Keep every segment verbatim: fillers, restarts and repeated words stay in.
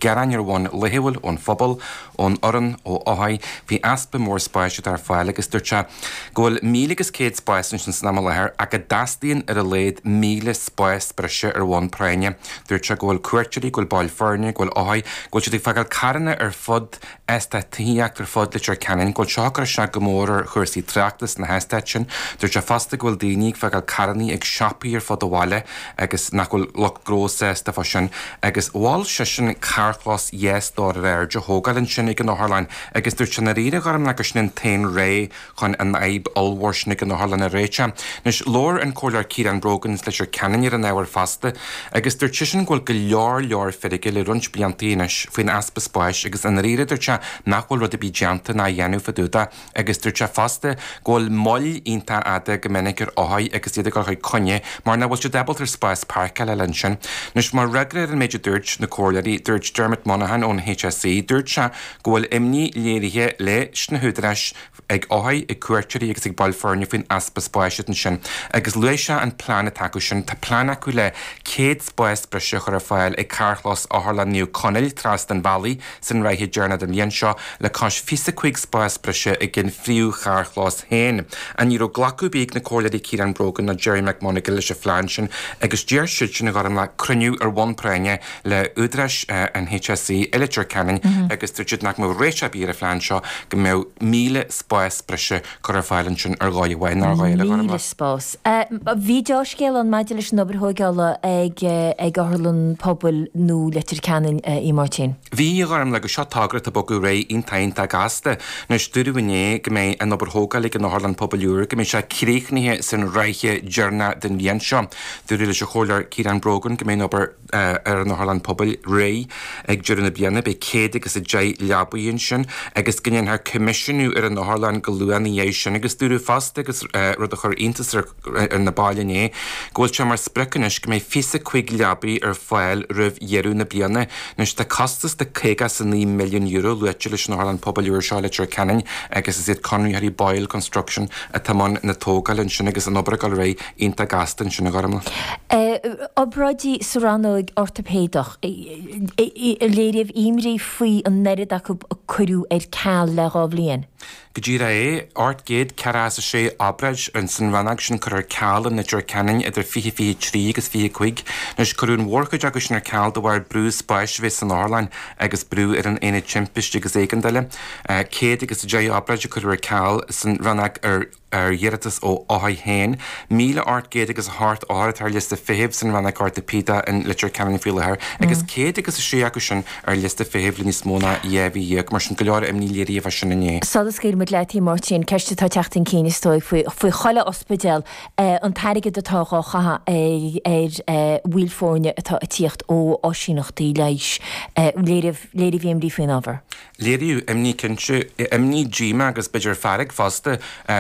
gearáin ar bhonn laethúil ón phobal, ón fhoireann, ó othair, faoi easpa mór spáis atá ar fáil agus dúirt sé go bhfuil míle agus céad spás ansin san am i láthair ach go dteastaíonn ar a laghad míle spás breise ar bhonn práinne. Dúirt sé go bhfuil cuairteoirí, go bhfuil baill foirne, go bhfuil othair, go bhfuil siad ag fágáil carranna ar fud eastát tithíochta ar fud Leitir Ceanainn, go bhfuil seo ag cur isteach go mór ar chúrsaí tráchta sna heastáit sin. Dúirt sé fosta go bhfuil daoine ag fágáil carranna ag siopaí ar fud an bhaile agus nach bhfuil lucht gnó sásta fá sin agus mhol seisean carrchlós dhá stór ar airde a thógáil ansin ag an otharlann agus dúirt sé i ndáiríre a Ghormfhlaith gur sin an t-aon rogha chun an fhadhb ollmhór sin ag an otharlann a réiteach. Anois labhair an Comhairleoir Ciarán Brogan as Leitir Ceanainn ar an ábhar fosta agus dúirt seisean go bhfuil go leor leor feirge le roinnt blianta anois faoin easpa spáis agus i ndáiríre dúirt sé nach bhfuil rud ar bith déanta ná á dhéanamh fá dtaobh de agus dúirt sé fosta go bhfuil moill iontach fhada go minic ar othair agus iad ag dul chuig coinne mar nach bhfuil siad ábalta ar spás páirceála a fháil ansin. Anois mar fhreagra ar an méid a dúirt na comhairleoirí, dúirt Dermot Monaghan ón HSE, dúirt sé go bhfuil imní léirithe leis na húdaráis ag othair, ag cuairteoirí agus ag baill foirne faoin easpa spáis ansin agus luaigh sé an plean atá acu sin. Tá plean acu le céad spás breise a chur ar fáil ag carrchlós Otharlann Naomh Conaill trasna an bhealaigh san ráithe deireanach den bhliain seo le cois fiche cúig spás breise ag an phríomh-charrchlós féin. Ach ní raibh glacadh ar bith ag na Comhairleoirí Ciarán Brogan ná Gerry McMonagall leis an phlean sin agus d'iarr siadsan a Ghormfhlaith cruinniú ar bhonn práinne le údaráis an HSE i Leitir Ceanainn agus dúirt siad nach mbeadh réiteach ar bith ar an phlean seo go mbeadh míle spás breise curtha ar fáil ansin ar dhóigh amháin nó ar dhóigh eile. Míle spás. Bhí dea-scéal ann maidir leis an obair thóigeála ag ag Otharlann Pobail nua Leitir Ceanainn, a Mháirtín. Bhí, a Ghormfhlaith, agus seo togra atá ag bogadh ar aghaidh iontach iontach gasta. Anois dúradh inné go mbeidh an obair thógála ag an Otharlann Pobail úr, go mbeidh sé críochnaithe san ráithe deireanach den bhliain seo. Dúradh leis an Chomhairleoir Ciarán Brogan go mbeidh an obair ar an Otharlann Pobail réidh ag deireadh na bliana, beidh céad agus a deich leabaí ansin agus go ndéanfar coimisiúnú ar an otharlann go luath ina dhiaidh sin agus dúradh fosta, agus rud a chuir iontas ar na baill inné, go bhfuil sé mar sprioc anois go mbeidh fiche cúig leabaí ar fáil roimh dheireadh na bliana. Anois tá costas de caoga is a naoi milliún euro luaite leis an Otharlann Pobail úr seo i Leitir Ceanainn agus is iad conraitheoirí Boyle Construction atá i mbun na tógála ansin agus an obair ag dul ar aghaidh iontach gasta ansin a Ghormfhlaith. Obráidí sa rannóg ortaipéadach, léiríodh imní faoi an oiread acu a cuireadh ar ceal le dhá bhliain. Go díreach é, ocht gcéad ceathracha is a sé obráid ins an rannóg sin curtha ar ceal i Leitir Ceanainn idir fiche fiche trí agus fiche cúig. Anois cuireadh an mhórchuid acu sin ar ceal de bharr brú spáis a bheith san otharlann agus brú ar an aonad timpiste agus éigeandála. Céad agus a deich obráid a cuireadh ar ceal san rannóg ar ar iarratas ó othair féin. Míle ocht gcéad agus a hocht othar atá ar liosta feithimh san rannóg ortaipéadach in Leitir Ceanainn faoi láthair agus céad agus a sé acu sin ar liosta feithimh le níos mó ná dhá mhí dhéag. Mar sin, go leor imní léirithe fá sin inné. Sula scaoilfidh muid leat, a Mháirtín, ceist atá ag teacht chun cinn is dóigh faoi faoi chuile ospidéal, an t-airgead atá dhá chaitheamh ar bhaill foirne atá ag tíocht ó áisíneachtaí leighis. Léiríodh léiríodh imní faoin ábhar. Léiríodh imní cinnte, imní, díomá agus b'fhéidir fearg fosta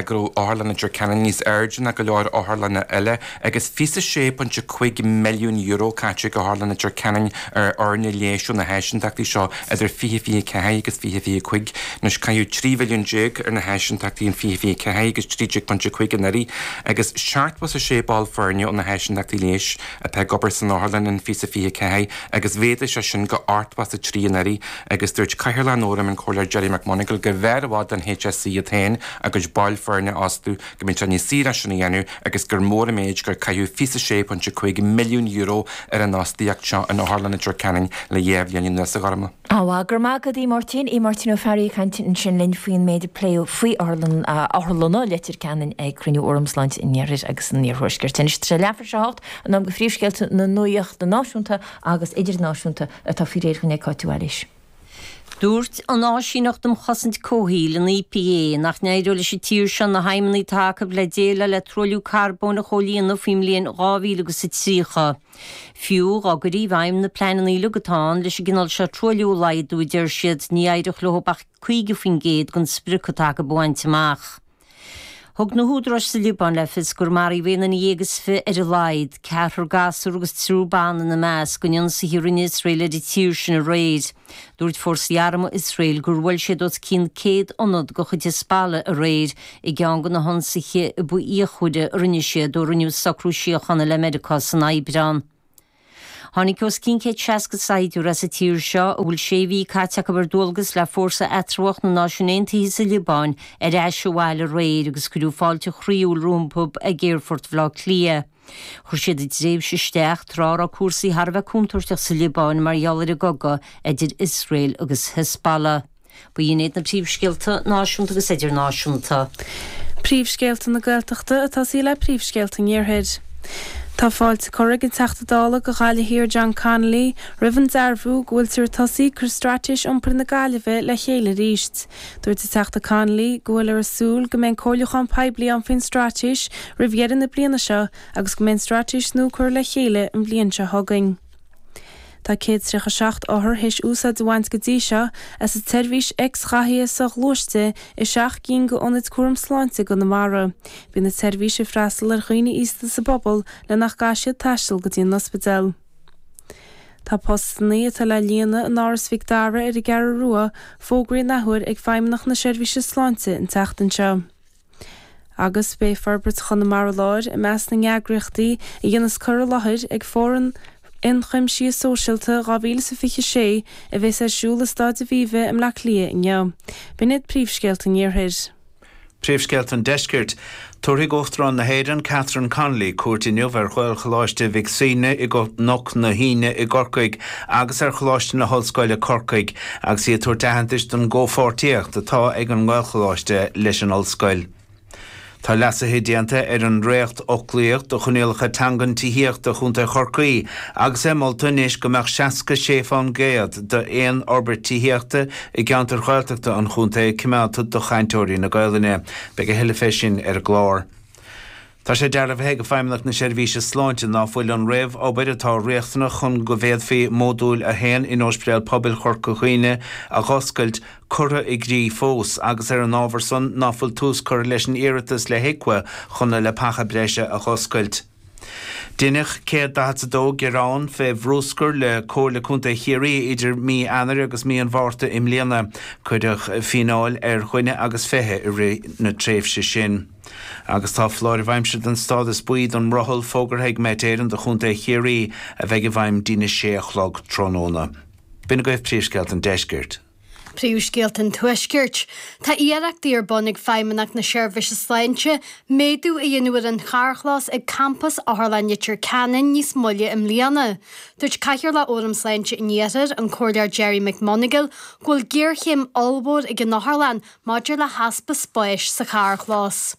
go raibh Otharlann Leitir Ceanainn níos airde ná go leor otharlanna eile agus fiche sé pointe cúig milliún euro caite ag Otharlann Leitir Ceanainn ar fhoirne leighis ó na háisíntachtaí seo idir fiche fiche ceathair agus fiche fiche cúig. Anois caitheadh trí mhilliún déag ar na háisíntachtaí in fiche fiche ceathair agus trí déag pointe cúig anuraidh agus seachtó is a sé ball foirne ó na háisíntachtaí leighis atá ag obair san otharlann in fiche fiche ceathair agus mhéadaigh sé sin go ochtó is a trí anuraidh agus dúirt Cathaoirleach an Fhóraim, an Comhairleoir Gerry McMonagall, gurbh fhearr i bhfad don HSE iad féin a gcuid baill foirne a fhostú, go mbeadh sé níos saoire é sin a dhéanamh agus gur mór an méid gur caitheadh fiche sé pointe cúig milliún euro ar an fhostaíocht seo in Otharlann Leitir Ceanainn le dhá bhliain anuas, a Ghormfhlaith. Á, go raibh maith agat, a Mháirtín. A Mháirtín Ó Fearraigh ag caint ansin linn faoin méid a pléadh faoi Otharlann, Otharlanna Leitir Ceanainn ag cruinniú Fhóram Sláinte an Iarthair agus an Iarthuaiscirt. Anois tá sé leathuair tar éis a hocht, an am do phríomhscéalta na nuachta náisiúnta agus idirnáisiúnta atá faoi réir againn ag Cáit de Bhailís. Dúirt an Áisíneacht um Chosaint Comhshaoil, an EPA, nach n-éireoidh leis an tír seo na haidhmeanna atá acu le déileáil le truailliú carbóin a chomhlíonadh faoin mbliain dhá mhíle agus a tríocha. Fiú dá gcuirí i bhfeidhm na pleananna uilig atá ann leis an gcineál seo truailliú a laghdú, a deir siad, ní éireodh leo ach caoga faoin gcéad den sprioc atá acu a bhaint amach. Thug na húdaráis sa Liobáin le fios gur maraíodh aon duine dhéag is fiche ar a laghad, ceathrar gasúr agus triúr ban ina measc, in ionsaithe a rinne Iosrael ar an tír sin aréir. Dúirt fórsaí armtha Iosrael gur bhuail siad os cionn céad ionad de chuid Hezbollah aréir i gceann de na hionsaithe ba fhíochmhaire a rinne siad ó rinneadh socrú síochána le Meiriceá san Aibreán. Tháinig os cionn céad seasca saighdiúir as an tír seo a bhfuil sé mhí caite acu ar dualgas le Fórsa Eatramhach na Náisiún Aontaithe sa Liobáin ar ais abhaile aréir agus cuireadh fáilte chroíúil rompu ag Aerfort Bhaile Átha Cliath. Chuir siad a dtréimhse isteach tráth a raibh cúrsaí thar a bheith contúirteach sa Liobáin mar gheall ar an gcogadh idir Iosrael agus Hezbollah. B'in iad na príomhscéalta náisiúnta agus idirnáisiúnta. Príomhscéalta na Gaeltachta ag tosaí le príomhscéalta an Iarthair. Tá fáilte curtha ag an Teachta Dála do Ghaillimh Thiar John Connolly roimh an dearbhú go bhfuiltear ag tosaí ag cur Straitéis Iompair na Gaillimhe le chéile arís. Dúirt an Teachta Connolly go bhfuil ag súil go mbeidh comhairliúchán poiblí ann faoin straitéis roimh dheireadh na bliana seo agus go mbeidh an straitéis nua curtha le chéile an bhliain seo chugainn. Tá céad tríocha seacht othar théis úsáid a bhaint go dtí seo as an tseirbhís X-ghathaithe soghluaiste i seacht gcinn d'ionaid cúram sláinte i gConamara. Bíonn an tseirbhís ag freastal ar dhaoine aosta sa bpobal le nach gcaithfidh siad taisteal go dtí an ospidéal. Tá postanna atá le líonadh in Áras Mhic Dara ar an gCeathrú Rua fógraithe an athuair ag Feidhmeannacht na Seirbhíse Sláinte an tseachtain seo. Agus beidh Forbairt Chonamara Láir i measc na n-eagraíochtaí a dhéanfas cur i láthair ag Fóram Ionchuimsithe Sóisialta dhá mhíle is a fiche sé a bheas ar siúl i Staid Aviva i mBleá Cliath inniu. B'in iad príomhscéalta an Iarthair. Príomhscéalta an Deiscirt. Tabharfaidh Uachtarán na hÉireann Catherine Connolly cuairt inniu ar Ghaelcholáiste Mhic Suibhne i gCnoc na hAoine i gCorcaigh agus ar Choláiste na hOllscoile Corcaigh agus í ag tabhairt aitheantais don gcomhpháirtíocht atá ag an nGaelcholáiste leis an ollscoil. Tá leasuithe déanta ar an ndréacht-fhoclaíocht do choinníollacha teangan tithíochta Chontae Chorcaí agus é molta anois go mbeadh seasca sé faoin gcéad d'aon fhorbairt tithíochta i gceantar Ghaeltachta an chontae coimeádta do chainteoirí na Gaelainne. Beidh a thuilleadh fé sin ar an gclár. Tá sé dearbhaithe ag Feidhmeannacht na Seirbhíse Sláinte ná fuil an réamhobair atá riachtanach chun go bhféadfaí Módúl a haon in Ospidéal Pobail Chorca Dhuibhne a dh'oscailt curtha i gcrích fós agus ar an ábhar san ná fuil tús curtha leis an iarratas le HIQA chun na leapacha breise a dh'oscailt. Deineadh céad daichead a dó gearán fé bhruscar le Comhairle Contae Chiarraí idir mí Eanáir agus mí an Mhárta i mbliana. Cuireadh fíneáil ar dhuine agus fiche i rith na tréimhse sin. Agus tá foláireamh aimsire den stádas buí don mbrothall fógartha ag Met Éireann do Chontae Chiarraí a bheidh i bhfeidhm dtína sé a chlog tráthnóna. B'in agaibh príomhscéalta an Deiscirt. Príomhscéalta an Tuaiscirt. Tá iarrachtaí ar bun ag Feidhmeannacht na Seirbhíse Sláinte méadú a dhéanamh ar an charrchlós ag campas Otharlann Leitir Ceanainn níos moille i mbliana. Dúirt Cathaoirleach Fhóram Sláinte an Iarthair, an Comhairleoir Gerry McMonagall, go bhfuil géarchéim ollmhór ag an otharlann maidir le heaspa spáis sa charrchlós.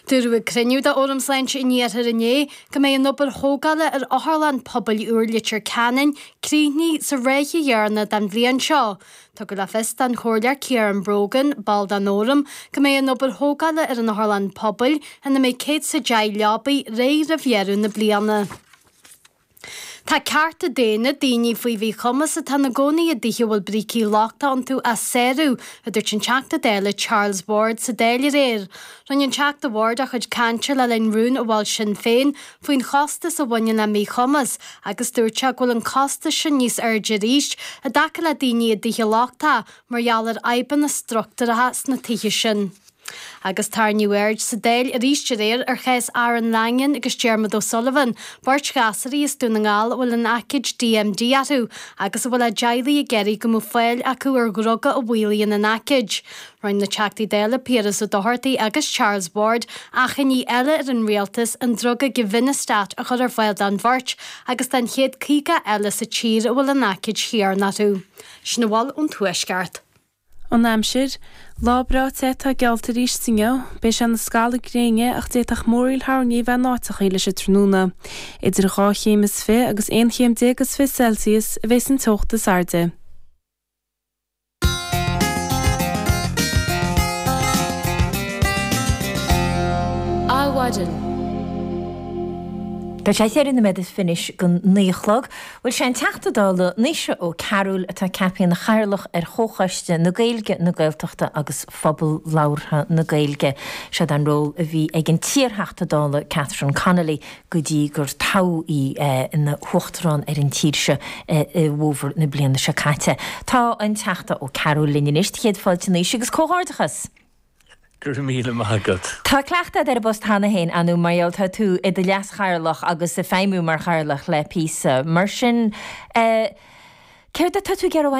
Dúradh ag cruinniú de Fhóram Sláinte an Iarthair inné go mbeidh an obair thógála ar Otharlann Pobail úr Leitir Ceanainn críochnaithe sa ráithe dheireanach den bhliain seo. Tugadh le fios don Chomhairleoir Ciarán Brogan, ball den Fhóram, go mbeidh an obair thógála ar an Otharlann Pobail, ina mbeidh céad is a deich leabaí, réidh roimh dheireadh na bliana. Tá cearta daonna daoine faoi mhíchumas atá ina gcónaí i dtithe a bhfuil brící lochtacha iontu á sárú, a dúirt an Teachta Dála Charles Ward sa Dáil aréir. Rinne an Teachta Ward a chuid cainte le linn rún a mhol Sinn Féin faoin chostas a bhaineann le míchumas agus dúirt sé go bhfuil an costas sin níos airde arís i dtaca le daoine i dtithe lochtacha mar gheall ar fhadhbanna struchtúracha sna tithe sin. Agus tarraingíodh aird sa Dáil arís aréir ar chás Aaron Langan agus Diarmuid O'Sullivan, beirt ghasúraí as Dún na nGall a bhfuil an aicíd D M D orthu agus a bhfuil a dteaghlaigh ag iarraidh go mbeadh fáil acu ar dhruga a mhaolaíonn an aicíd. Rinne na Teachtaí Dála Piaras Ó Dochartaigh agus Charles Ward achainí eile ar an rialtas an druga Givinostat a chur ar fáil don bheirt agus don chéad caoga eile sa tír a bhfuil an aicíd chéanna orthu. Sin a bhfuil ón Tuaisceart. An aimsir, lá breá te atá geallta arís inniu, beidh sé ina scalladh gréine ach d'fhéadfadh múraíl thoirní bheith in áiteacha leis an tráthnóna. Idir dhá chéim is fiche agus aon chéim déag is fiche Celsius a bheas an teocht is airde. Adhmhaidin. Tá sé ceithre nóiméad is fiche don naoi a chlog. Bhuel sé an Teachta Dála Naoise Ó Cearúil atá ceaptha ina chathaoirleach ar Chomhchoiste na Gaeilge, na Gaeltachta agus Phobal Labhartha na Gaeilge. Seod an ról a bhí ag an t-iarTheachta Dála Catherine Connolly go dtí gur toghadh í ina huachtarán ar an tír seo i bhfómhar na bliana seo caite. Tá an Teachta Ó Cearúil linn anois, céad fáilte Naoise agus comhghairdeachas. Go raibh míle maith agat. Tá cleachtadh agat ar an bpost cheana féin, ar ndóigh, mar gheall tá tú i do leas-chathaoirleach agus ag feidhmiú mar chathaoirleach le píosa. Mar sin, céard atá tú ag iarraidh a bhaint